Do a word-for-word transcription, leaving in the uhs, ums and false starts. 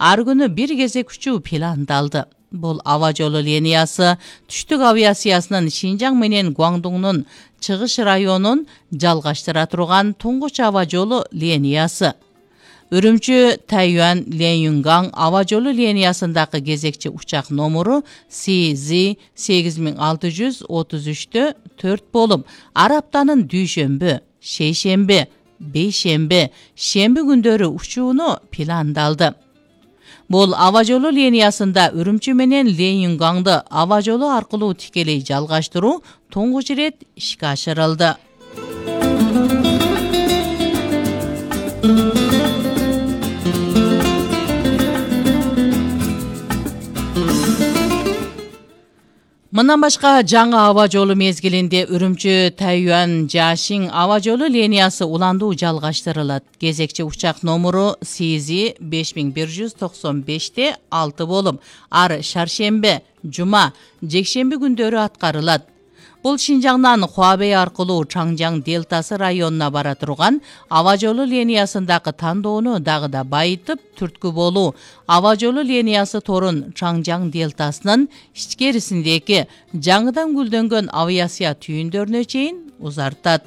ар күнү бир кезек учуу пландалды. Бул аба жолу линиясы түштүк авиациясынын Шинжаң менен Гуандуңдун чыгыш районун жалгаштыра турган туңгуч аба жолу линиясы. Үрүмчү Тайюан Ленюнгаң аба жолу линиясындагы кезекчи учак номуру си зет сегиз миң алты жүз отуз үчтө төрт болуп, ар аптанын дүйшөмбү, шейшемби, бейшемби, шемби күндөрү учууну пландалды. Бул аба жолу линиясында Үрүмчү менен Ленюнгаңды аба жолу аркылуу тикелей жалгаштыруу туңгуч ирет ишке ашырылды. Мындан башка жаңы аба жолу мезгилинде Үрүмчү Тайюан Жашиң аба жолу линиясы уландуу жалгаштырылат. Кезекчи учак номуру си зет беш миң бир жүз токсон беште алты болуп, ар шаршемби, жума, жекшемби күндөрү аткарылат. Бул Шинжаңдан Хуабей аркылуу Чаңжаң дельтасы районуна бара турган аба жолу линиясындагы тандоону дагы да байытып, түрткү болуу аба жолу линиясы торун Чаңжаң дельтасынын ичкерисиндеги жаңыдан гүлдөнгөн авиация түйүндөрүнө чейин узартат.